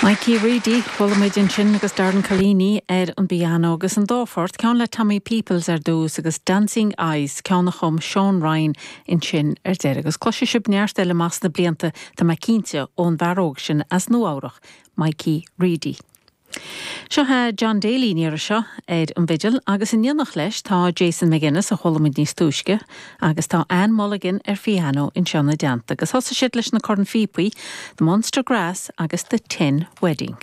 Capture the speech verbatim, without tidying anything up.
Mikey Reedy chuala muid ansin agus Darren Collini ar an bpianó agus an dá phort ceann le Tommy Peoples ar dtús agus Dancing Eyes ceann a chum Sean Ryan ansin ar deireadh agus cloisfidh sibh neart eile amach sna blianta tá mé cinnte ón bhfear óg sin as Nua-Eabhrac, Mikey Reedy. Seo é John Daly níor seo ar an bhfidil agus in éineacht leis tá Jason McGuinness a chuala muid níos túisce agus tá Anne Mulligan ar pianó anseo ina dteannta agus thosaigh siad leis na cornphíopaí, The Munster Grass agus The Tin Wedding.